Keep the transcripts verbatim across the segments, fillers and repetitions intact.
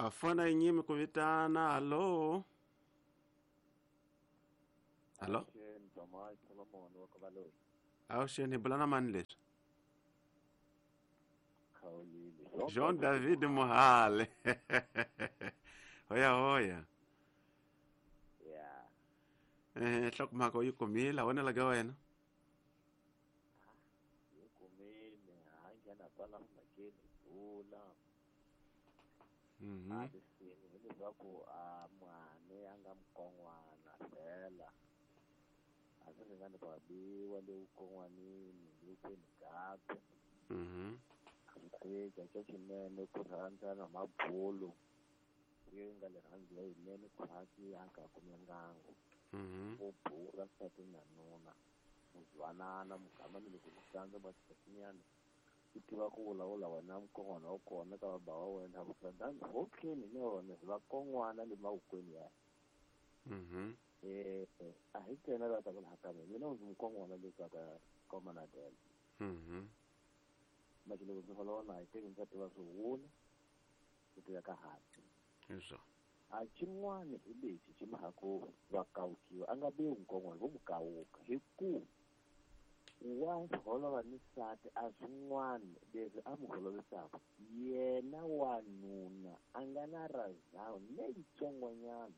A fona yi nyimi ku vitana. Hallo, hallo. Avuxeni, hi bula na mani leswi? Jean David Mohale. Hoya hoya. Eh, nhlokomhaka u yi kumile, vonela ka wena. Yi kumile, ha nghena kwala mhakeni bula. Mhm. A tisini hileswaku a mhani a nga mukon'wana fela. A swi ringani ku biwa le vukon'wanini le kweni kakwe. Mhm. Swi xa xinene ku rhandzana mabulu. Yi nga le rhandzu leyinene khwatsi a nga kumengango. Mhm. Ku bula nsati na nuna. Muzwanana mugama ni loko ku sandza matatinyana. U tiva ku vulavula wena mukon'wana wa kona ka baba wa wena vukrandani hotleni ni wona hi vakon'wana le mavokweni ya. Mhm. Eh, a hi ntsena la ta ku laha ka mina mina ndzi mukon'wana le ka ka Komanadel. Mhm. Manje loko ndzi holova na hi teki ndzi tiva swi ku tiva ka hansi. Hi swona. A xin'wana hi lexi xi mhaka va kawukiwa a nga biwi mukon'wana vo mu kawuka hi ku wa holova ni nsati a swin'wana leswi a mu holovisaka yena wanuna a nga na razhawu leyitsongonyana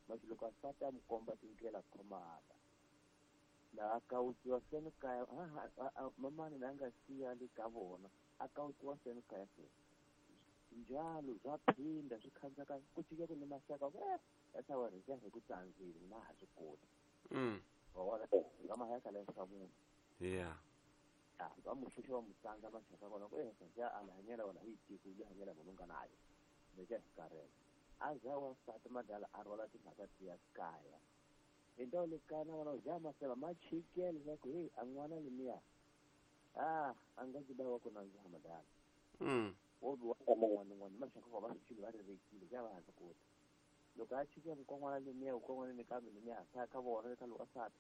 manje loko a nsati a mu komba tindlela khomaka laha kawukiwa seni kaya mamani la nga siya le ka vona a kawukiwa seni kaya se njalo swa phinda swi khandzaka ku cika ku ni maxaka eh ya wena ja hi ku tsandzile na ha swi koti. Mm. Wa vona nga mahaya ka leswa munhu. Yeah. Ah, va mu xuxa va mu tsandza maxaka kona ku eh ja a la hanyela wona hi tiko ya hanyela munhu nga nayo. Leja hi karhele. A za wansati madala a rhwala timhaka tiya kaya. Hi ndhawu le kaya na vona ja maseva ma chikele leswaku hey a n'wana lemiya. Ah, a nga ndzi wa ku nandziha madala. Mm. Wo biwa n'wana n'wana maxaka va va swi va ri vekile ja va ha swi koti. Loko a chike mukon'wana lemiya mukon'wana ni kambe lemiya sa ka vona ka loko a sati.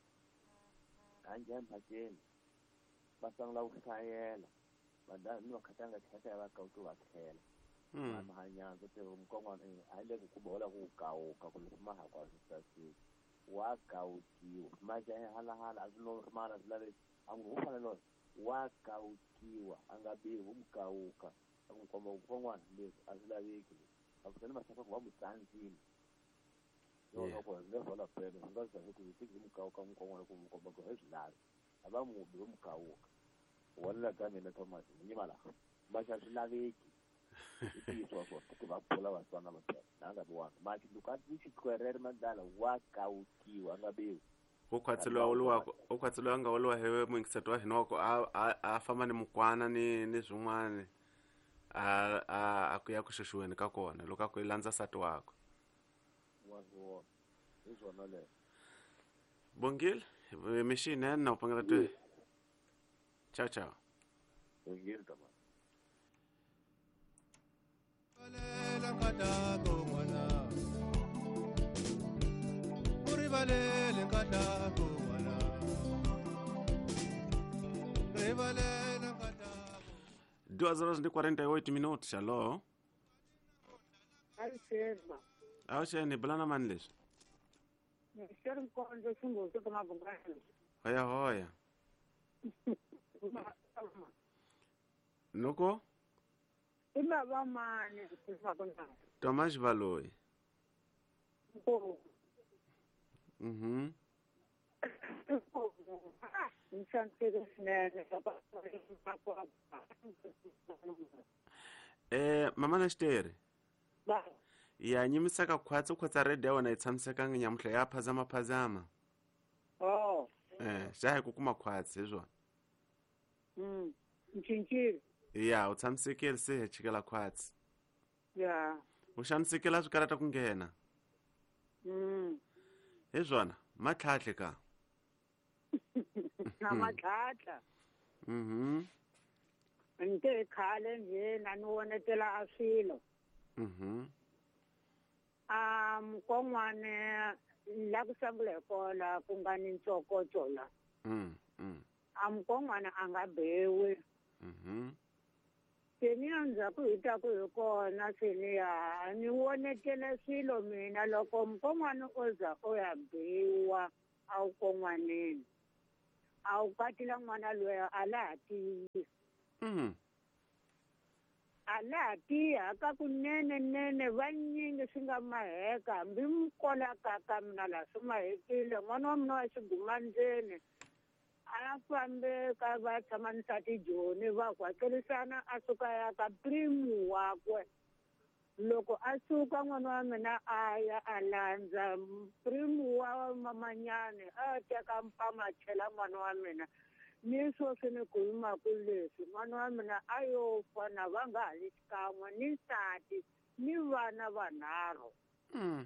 A njhe mhakeni. Va sungula ku hlayela. Madala ni vakhatanga tlhela va kawuki va tlhela. Mm. Mahanyandza te mukon'wana a le ku ku bola ku kawuka ku leswi ma ha kwa swi saseki. Wa kawukiwa. Maja halahala a swi lo mara swi laveki. A n'wi fanele wa kawukiwa a nga biwi mu kawuka. A n'wi komba mukon'wana leswi a swi laveki. A ku sele maxaka ku va mu tsandzile. Yo loko hi nga hola pele hi nga za ku hi mu kawuka mukon'wana ku mu komba ku hi swi lavi. A va mu bi mu kawuka. Wona ka mina Thomas ni nyima laha. Maxa swi laveki. I ntiyiso wa swona ku va bula vatswana va phela na nga biwanga manje loko a ti xikwerere madala wa kawukiwa a nga biwi. U khwatseliwa woluwa u khwatseliwa nga woluwa hewe muyingiseti wa hina wa ku a a famba ni mukwana ni ni swin'wana a a a ku ya ku xuxiweni ka kona loko a ku i landza nsati wakwe. Wa swona hi swona leswo. Bongile mixinene na u pangela twe. Ciao ciao. Bongile Thomas. Duas horas e quarenta e oito minutos, alô? Avuxeni, bula na mani leswi? Hoya hoya. Noko? Tomás Baloyi. Mhm. Eh, mama na xiteri. Ya nyimisaka khwatsi khwatsa radio ya wena yi tshamisekanga nyamuhla ya phazama phazama. Oh. Eh, xa hi ku kuma khwatsi hi swona. Mm. Ncincile. Ya, u tshamisekile se hi chikela khwatsi. Ya. U xanisekela swi karata ku nghena. Mm. Hi swona, matlhatlhe ka. Na matlhatla. Mhm. Nte khale nje na ni vonetela a swilo. Mhm. A mukon'wana la ku sungula hi kona ku nga ni ntsokotso la. Mm. Mm. A mukon'wana a nga bewi. Mhm. Teniya ndzhaku hi taku hi kona seniya ni vonetele swilo mina loko mukon'wana o za o ya biwa a wu kon'waneni a wu katila n'wana loyi a la ha tiyi mm. A la ha tiyi haka kunene nene vanyingi swi nga maheka hambi mukola ka ka mina laha swi mahekile n'wana wa mina wa xigumandzeni a fambe ka va tshama nsati Joni va kwakelisana a suka ya ka primu wakwe loko a suka n'wana wa mina a ya a landza primu wa mamanyani a teka mpama a chela n'wana wa mina ni sweswi ni ku yimaku leswi n'wana wa mina a yo fa na va nga ha li xikan'we ni nsati ni vana vanharhu mm.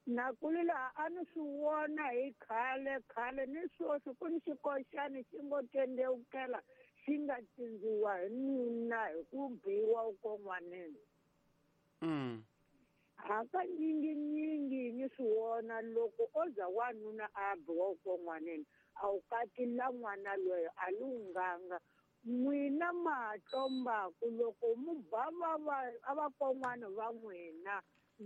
Na kulila a ni swi vona hi khale khale ni sweswi ku ni xikoxani xi ngo tendewukela xi nga tindziwa hi nuna hi ku biwa ukon'waneni mm. Hakanyinginyingi ni swi vona loko o za wanuna a biwa ukon'waneni a wu katila n'wana loyi a lunghanga n'wina matlombaku loko mu ba va va a vakon'wana va n'wina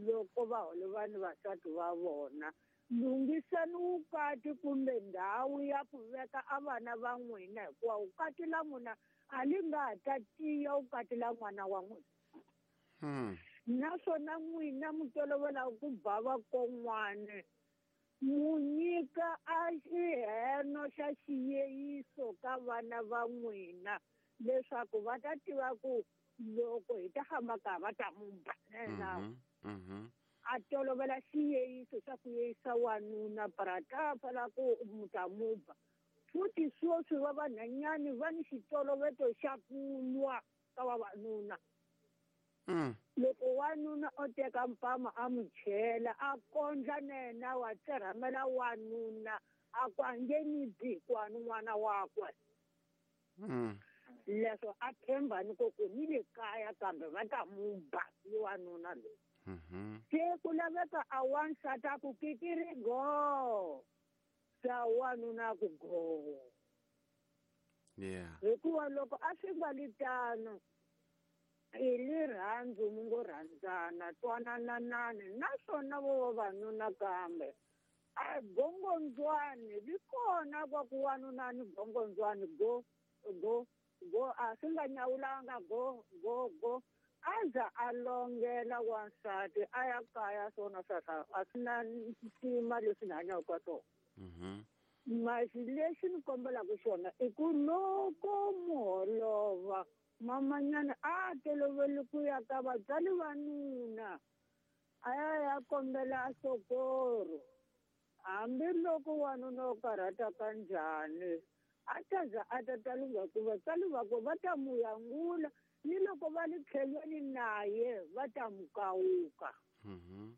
loko va holova ni vasati va vona lunghisani vukati kumbe ndhawu ya ku veka a vana va n'wina hikuva vukati la n'wina a li nga ha ta tiya vukati la n'wana wa n'wina hmm. Naswona n'wina mi tolovela ku ba vakon'wana mu nyika a xiheno xa xiyeyiso ka vana va n'wina leswaku va ta tiva ku loko hi ta famba ka va ta mu ba na mm-hmm. A tolovela xiyeyiso xa ku yeyisa wanuna para ta fala ku mu ta mu ba futhi sweswi va vanhanyani va ni xitoloveto xa ku lwa ka vavanuna mm. Loko wanuna o teka mpama a mu chela a kondla na yena wa tserhamela wanuna a ku a nge ni bi kwani n'wana wakwe mm. Leswo a tshemba ni ku ku ni le kaya kambe va ta mu ba i wanuna loyi mm-hmm. Se ku laveka a wansati a ku kikiri go sa wanuna ku go yeah. Hikuva loko a swi nga li tano i rirhandzu mi ngo rhandzana twanananani naswona vo vavanuna kambe a gongondzwani li kona kwa ku wanuna ni gongondzwani go go go a swi nga nyawulanga go go go a za a longela wansati a ya kaya swona sweswo a swi na ntima leswi ni hanyaka ka swona mm-hmm. Masi lexi ni kombelaka xona i ku loko muholova mamanyana a toloveli ku ya ka vatswari va nuna a ya ya kombela sokoro hambiloko wanuna o karhata ka njhani a ta za a ta ta lungha ku vatswari vakwe va ta mu yangula ni loko va le tlhelweni naye va ta mu kawuka mm-hmm.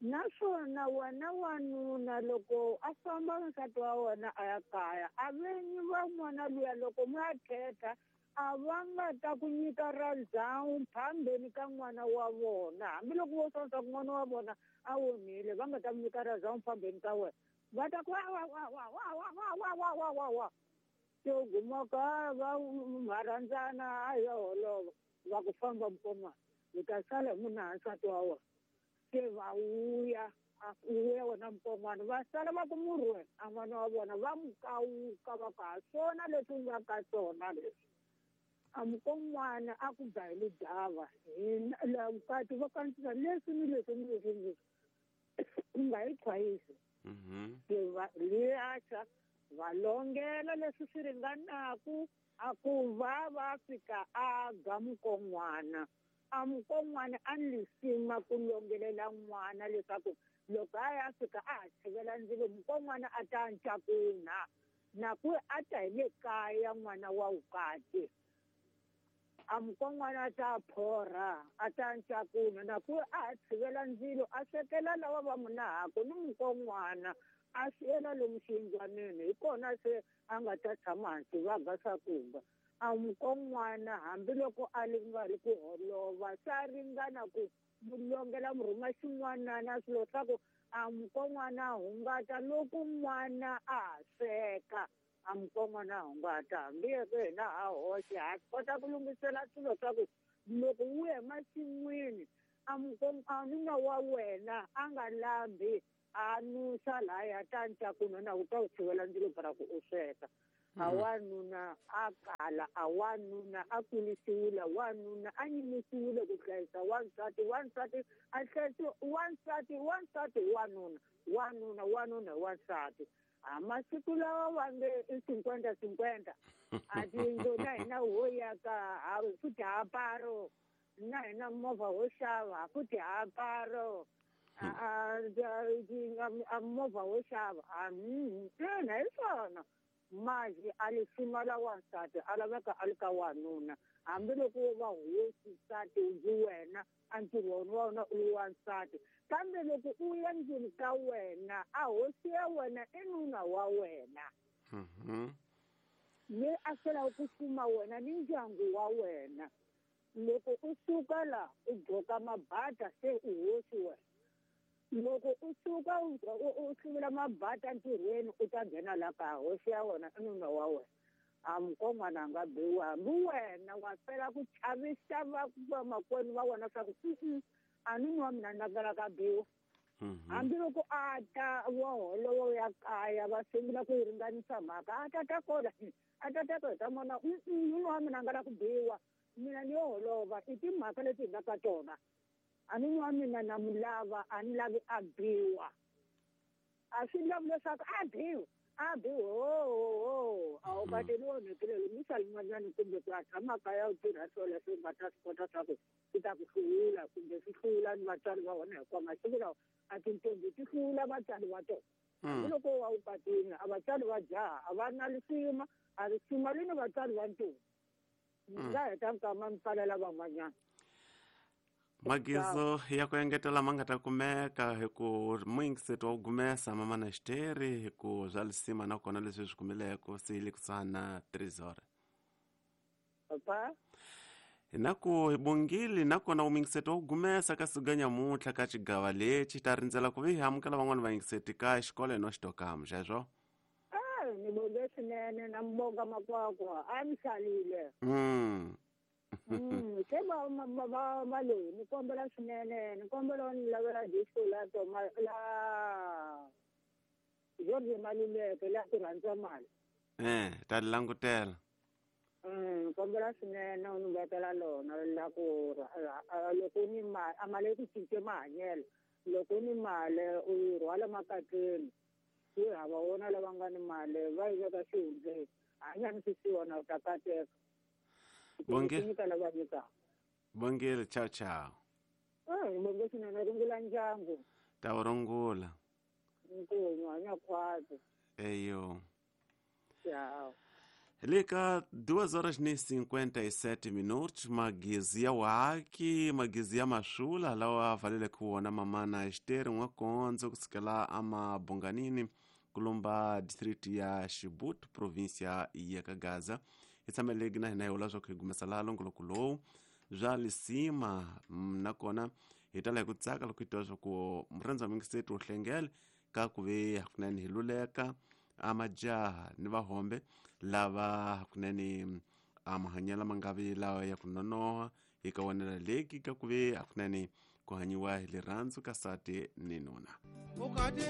Naswona wena wanuna loko a famba nsati wa wena a ya kaya a venyi va n'wana luya loko mi ya thetha a va nga ta ku nyika ra ndhawu phambeni ka n'wana wa vona hambiloko vo swa ku n'wana wa vona a onhile va nga ta mu nyika ra ndhawu phambeni ka wena va ta ku wa wa wa wa wa wa wa wa wa wa wa wa se u guma ka va ma rhandzana a ya holova va ku famba mukoma u ta sala hi munhu nsati wa wena se va vuya a vuya wena mukon'wana va sala va ku murhwe a n'wana wa vona va mu kawuka va ku ha swona leswi u nga ka swona leswi a mukon'wana a ku ba hi lidava hina la vukati va kandzisa leswi ni leswi ni leswi ni leswi u nga yi chwayisi mm-hmm. Se va liacha va longela leswi swi ringanaku a ku va va fika a ga mukon'wana a mukon'wana a ni lisima ku longelela n'wana leswaku loko a ya fika a ha tshivela ndzilo mukon'wana a ta ncakunha na ku a ta hi le kaya n'wana wa vukati a mukon'wana a ta phorha a ta ncakunha na ku a ha tshivela ndzilo a swekela lava va munahaku ni mukon'wana a siyela lomu xiyindlwanini hi kona se a nga ta tshama hansi va ga swakudya a mukon'wana hambiloko a li nga ri ku holova swa ringana ku mu longela mu rhuma xin'wanana swilo swa ku a mukon'wana a hungata loko n'wana a ha sweka A mukon'wana a hungata hambi yeke hina ha hoxe ha kota ku lunghisela swilo swa ku loko wu ya emasin'wini a a nuna wa wena a nga lambi a nusa laya ta ncakuno na u ta u tshivela ndzilo para ku u sweka. A wanuna a kala, a wanuna a kulisiwile, wanuna a nyimisiwile ku hlayisa wansati, wansati a hlayisi wansati, wansati wanuna, wanuna wanuna wansati. A masiku lawa va nge i cinquenta cinquenta a tiyindlu na hina ho yaka ha futhi ha paro na hina movha ho xava futhi ha paro a a movha ho xava a ina hi swona maji a lisima la wansati a laveka a li ka wanuna hambiloko wo va hosi nsati ndzi wena a ntirho wa wena u li wansati kambe loko u ya ndlwini ka wena a hosi ya wena i nuna wa wena le a selaka ku fuma wena ni ndyangu wa wena loko u suka la u gqoka mabata se u hosi wena loko u suka u hluvula mabata ntirhweni u ta nghena la ka hosi ya wena i nuna wa wena a mukon'wana a nga biwa hambi wena wa fela ku chavisa vamakwenu va wena swa ku a nuna wa mina na ka biwa hambiloko a ta wa holovo ya kaya va sungula ku yi ringanisa mhaka a ta ta kona a ta ta kona ta mona nuna wa mina a nga la ku biwa mina ni yo holova i timhaka leti hi nga ka tona a nuna wa mina na mu lava a ni lavi a biwa a swi lavi leswaku a biwa a biwa ho a wu kateli onhekile lumisa lin'wanyani kumbe ku a tshama kaya u tirha swilo leswi u nga ta swi kota swa ku swi ta ku hluvula kumbe swi hluvula ni vatswari va wena hikuva masiku lawa a tintombi ti hluvula vatswari va tona hambiloko wa wu katini a vatswari va jaha a va na risima a risima ri ni vatswari va ntombi nga heta nkama mi pfalela van'wanyana. Magizo ya ku engetela ma nga ta kumeka hi ku muyingiseti wa ku gumesa mama na xiteri hi ku swa lisima nakona leswi swi kumileko se le kusuhani na three papa hi na ku hi bongile nakona umuyingiseti wa ku gumesa ka siku nyamuntlha ka xigava lexi ta rindzela ku vi hi amukela van'wani vayingiseti ka xikolo no xitokamu xexo. A ni bonge swinene na mbonga makwakwa a mi hlalile. Mm. Mm, se va va va va loyi ni kombela swinene ni kombela ni lavela disco la toma la George Maluleke la ku rhandza mali. Eh, ta langutela. Mm, kombela swinene u ni vekela lona la ku loko ni mali a mali ku cince mahanyelo loko ni mali u yi rhwala makatleni yi hava wona lava nga ni mali va yi veka xihundleni hanya ni swisiwana u ta kateka. Bonge. Bongile, ciao ciao. Eh, bonge swinene rungula ndyangu. Ta wu rungula. Nkunyu hanya khwatsi. Eyo. Ciao. Le ka duas horas ni cinquenta e sete minutos magezi ya waki magezi ya mashula lawa valele kuona mamana Esther n'wakondzo kusukela amabonganini kulumba district ya Xibut província ya Kagaza. Hi tshameleki na hina hi vula swa ku hi gumesa laha longoloko lowu bya lisima nakona hi tala hi ku tsaka loko hi twa swa ku murhandzi wa mingiseti wu hlengele ka ku ve hakunene hi luleka a majaha ni vahombe lava hakunene a mahanyelo ma nga vi lawa ya ku nonoha hi ka wonela leki ka ku ve hakunene ku hanyiwa hi rirhandzu ka sati ni nuna.